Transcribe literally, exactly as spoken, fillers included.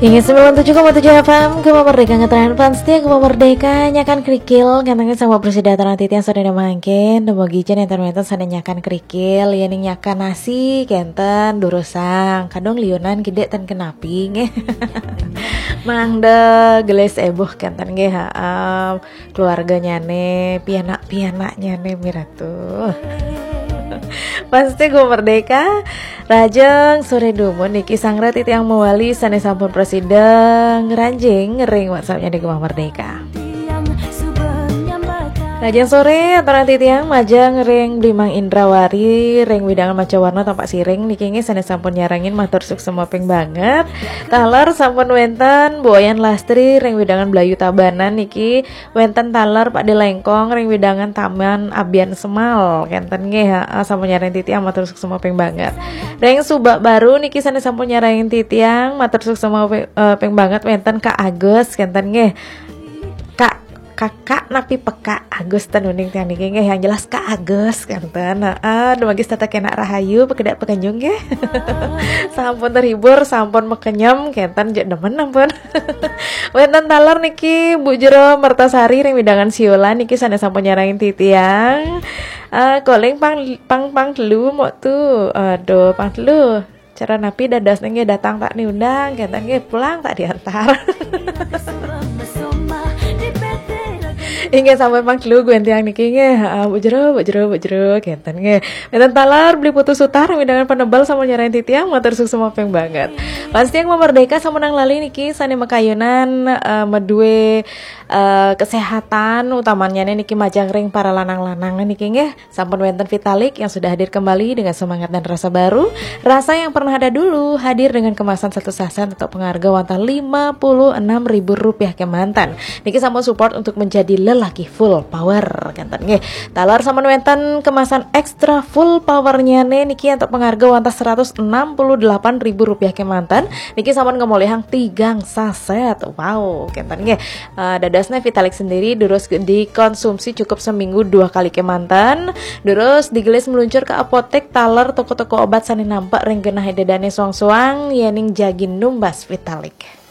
Inggih, sembilan tujuh koma tujuh F M, Gema Merdeka, ngetren fans setia Gema Merdeka, nyakan kerikil, kenten nggih sami prasida aturang titiang sadaya mangkin, dumugi jen enten wenten sane nyakan kerikil, yening nyakan nasi, kenten, durusang, kadung liunan gede ten kenapi, nggih. Mangda gelis ebuh, kenten nggih, ha, em, keluarganyane, pianak-pianaknyane, miratu. Fans setia Gema Merdeka, rahajeng sore dumun niki sareng titiang mawali sane sampun prasida ngranjing ring WhatsApp-nyane Gema Merdeka. Rahajeng sore, aturang titiang majeng ring Bli Mang Indrawari, ring wewidangan Macawarna Tampaksiring niki nggih sane sampun nyarengin, matur suksma ping banget. Taler sampun wenten Bu Wayan Lastri ring wewidangan Blayu Tabanan niki, wenten taler Pakde Lengkong ring wewidangan Taman Abian Semal, kenten nggih, ha, sampun nyarengin titiang, matur suksma ping banget. Ring Subak Baru niki sane sampun nyarengin titiang, matur suksma pi-, eh, ping banget, wenten Kak Agus, kenten nggih. Kak, kakak napi pekak Agus ten uning tiang niki nggih, yang jelas Kak Agus, kenten. Heeh, dumugi setata kenak rahayu, pakedak pakenyung nggih. Sampun terhibur, sampun makenyem, kenten, jeg demen ampun. Wenten taler niki Bu Jero Mertasari ring wewidangan Siolan niki sane sampun nyarengin titiang. Eh, calling pang, pang, pang telu mok tu. Aduh, pang telu. Cara napi dadosne nggih, datang tak diundang, kenten nggih, pulang tak diantar. Inggih, sampun pang telu wenten tiang niki nggih. Heeh, Bu Jero, Bu Jero, Bu Jero, kenten nggih. Wenten taler Bli Putu Sutar, wewidangan Penebel sampun nyarengin titiang, matur suksma ping banget. Fans setia Gema Merdeka, sampun nang lali niki sane makayunan, eh, madue, eh, kesehatan, utamanyane niki majeng ring para lanang-lanang niki nggih. Sampun wenten Vitalik yang sudah hadir kembali dengan semangat dan rasa baru. Rasa yang pernah ada dulu hadir dengan kemasan satu saset antuk pangarga wantah lima puluh enam ribu rupiah kemanten. Niki sampun support untuk menjadi lelaki full power, kenten nggih. Taler sampun wenten kemasan extra full powernyane niki antuk pangarga wantah seratus enam puluh delapan ribu rupiah kemanten. Niki sampun ngamolihang tigang saset. Wow, kenten nggih. Eh, dadosne Vitalik sendiri durus dikonsumsi cukup seminggu dua kali kemanten. Durus digelis meluncur ke apotek, taler, toko-toko obat sane nampek ring genah ida dane soang-soang, yening jagi numbas Vitalik.